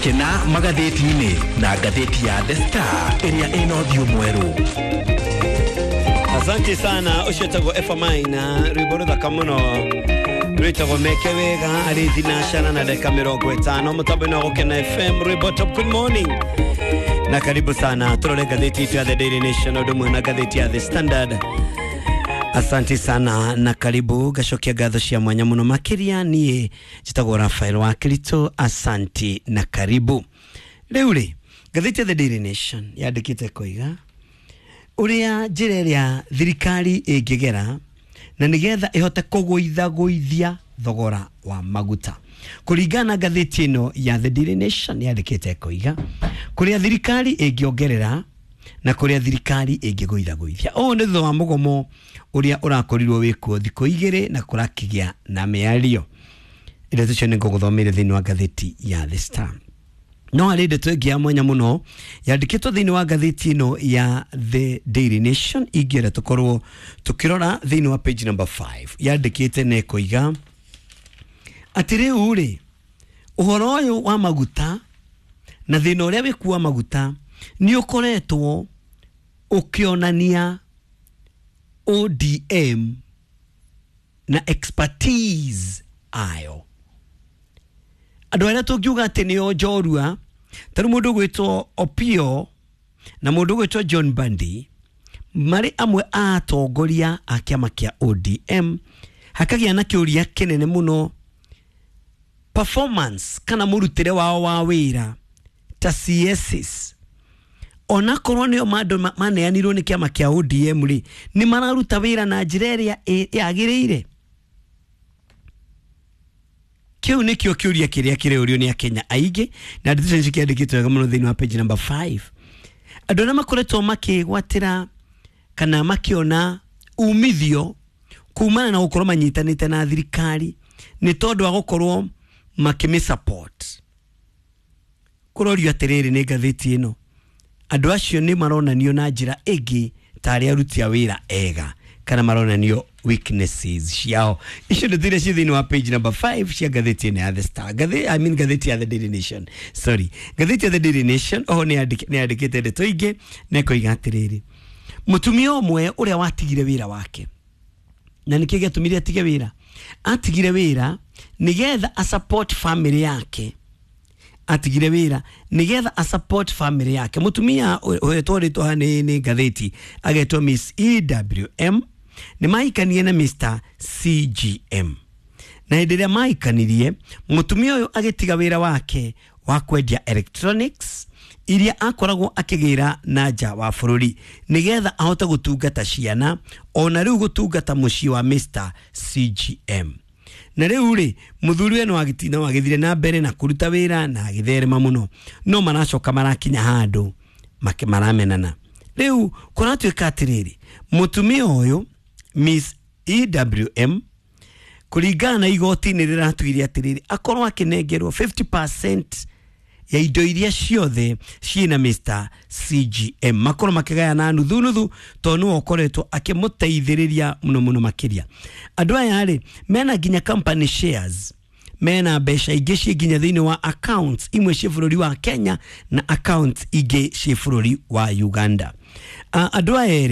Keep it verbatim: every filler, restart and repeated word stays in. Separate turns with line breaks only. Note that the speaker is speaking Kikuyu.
Kena magathĩti-inĩ na ngathĩti ya The Star ĩrĩa ĩna ũthiũ mwerũ.
Asante sana. Ũcio etagwo Efa Maina, rwĩmbo rũthaka mũno rwĩtagwo Meke Wega. Arĩ thinacana na ndagĩka mĩrongo ĩtano mũtambo-inĩ wa Gũkena F M, rwĩmbo top. Good morning na karibu sana. Tũrore ngathĩti itũ ya The Daily Nation ũndũ ũmwe na ngathĩti ya The Standard. Asante sana na karibu. Ngacokia ngatho cia mwanya mũno makĩria. Niĩ njĩtagwo Rafael wa Kirito. Asanti na karibu. Rĩu rĩ, ngathĩti ya The Daily Nation yandĩkĩte koiga ũrĩa njĩra ĩrĩa thirikari ĩngĩgera na nĩgetha ĩhote kũgũithagũithia thogora wa maguta. Kũringana na ngathĩti ĩno ya The Daily Nation, yandĩkĩte koiga kũrĩa thirikari ĩngĩongerera na kũrĩa thirikari ĩngĩgũithagũithia. Ũũ nĩ thutha wa mũgomo ũrĩa ũrakorirwo wĩkuo thikũ igĩrĩ na kũrakĩgĩa na mĩario. Ndeto icio nĩ ngũgũthomeire thĩinĩ wa ngathĩti ya The Star. No harĩ ndeto ĩngĩ ya mwanya mũno yandĩkĩtwo thĩinĩ wa ngathĩti ĩno ya The Daily Nation, ingĩenda tũkorwo tũkĩrora thĩinĩ wa page number five. Yandĩkĩte na ĩkoiga atĩ rĩu rĩ, ũhoro ũyũ wa maguta na thĩna ũrĩa wĩkuo wa maguta nĩ ũkoretwo ũkĩonania O D M na expertise ayo. Andũ arĩa tũngiuga atĩ nĩo njorua, tarĩu mũndũ ũgwĩtwo Opio na mũndũ ũgwĩtwo John Bandi, marĩ amwe a atongoria a kĩama kĩa O D M, hakagĩa na kĩũria kĩnene mũno performance kana mũrutĩre wao wa wĩra ta C Ss, onakorwo nĩo mandũ maneanirwo nĩ kĩama kĩa O D M rĩ, nĩ mararuta wĩra na njĩra ĩrĩa yagĩrĩire. Kĩu nĩkĩo kĩũria kĩrĩa kĩrĩũrio nĩ Akenya aingĩ, na ndeto icio cikĩandĩkĩtwo wega mũno thĩinĩ wa page number five. Andũ arĩa makoretwo makĩgwatĩra kana makĩona umithio kumana na gũkorwo manyitanĩte na thirikari nĩ tondũ wa gũkorwo makĩmĩ support, kũrorio atĩrĩrĩ nĩ ngathĩti ĩno, andũ acio nĩ maronanio na njĩra ĩngĩ tarĩ aruti a wĩra ega kana maronanio weaknesses ciao. Icio nĩ iria ciĩ thĩinĩ wa page number five cia ngathĩti ĩno ya The Star. Ngathĩ, I mean, ngathĩti ya The Daily Nation, sorry, ngathĩti ya The Daily Nation oho nĩ yandĩkĩte ndeto ingĩ na ĩkoiga atĩrĩrĩ, mũtumia ũmwe ũrĩa watigire wĩra wake, na nĩkĩ gĩatũmire atige wĩra? Atigire wĩra nĩgetha a support family yake. Atigire wĩra nĩgetha a support family yake. Mũtumia ũhetwo rĩtwa nĩ nĩ ngathĩti agetwo Miss E W M, nĩ mahikanie na Mister C G M, na hĩndĩ ĩrĩa mahikanirie, mũtumia ũyũ agĩtiga wĩra wake wa kwendia electronics iria akoragwo akĩgĩra na nja wa bũrũri nĩgetha ahote gũtungata ciana ona rĩu gũtungata mũciĩ wa Mister C G M. Na rĩu rĩ, mũthuri we no agĩthire na mbere na kũruta wĩra na agĩtherema mũno, no maracoka marakinya handũ maramenana. Rĩu kũratuĩka atĩrĩrĩ, mũtumia ũyũ Miss E W M, kũringana na igoti nĩ rĩratuire atĩrĩrĩ, akorwo akĩnengerwo fifty percent ya indo iria ciothe ciĩna Mister C G M, makorwo makĩgayana nuthu nuthu, tondũ nĩwe ũkoretwo akĩmũteithĩrĩria mũno mũno makĩria. Andũ aya rĩ, mena nginya company shares, mena mbeca ingĩ ciĩ nginya thĩinĩ wa accounts imwe ciĩ bũrũri wa Kenya na accounts ingĩ ciĩ bũrũri wa Uganda. Uh, andũ aya erĩ